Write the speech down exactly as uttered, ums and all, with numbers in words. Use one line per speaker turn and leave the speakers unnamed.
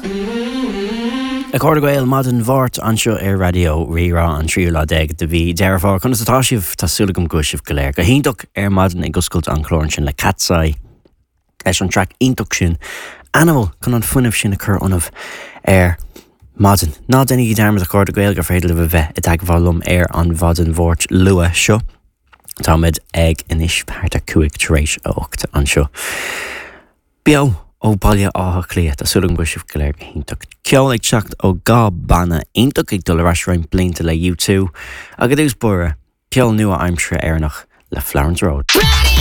A chairde Gael maidin Mháirt anseo ar Raidió Rí-Rá an tríú lá déag de mhí Deireadh Fómhair. Conas atá sibh tá súil agam go bhfuil sibh go léir. Go hiontach ar maidin ag oscailt an chlár sin le Katseye leis an track iontach sin. Animal chun an fuinneamh sin a chur ionaibh ar maidin. Ná déanaigí dearmad a chairde Gael gur féidir libh a bheith i dteagmháil liom ar an mhaidin Mháirt luath seo. Táimid ag anois thart ar cúig tar éis a hocht anseo. Beo ó Bhaile Átha Cliath Tá súil agam go bhfuil sibh go léir go hiontach. Ceol ag teacht ó dhá bhanna iontach ag dul ar ais roinnt blianta le U two agus dús bóre ceol nua-aimseartha Éireannach le Florence Road.
Ready!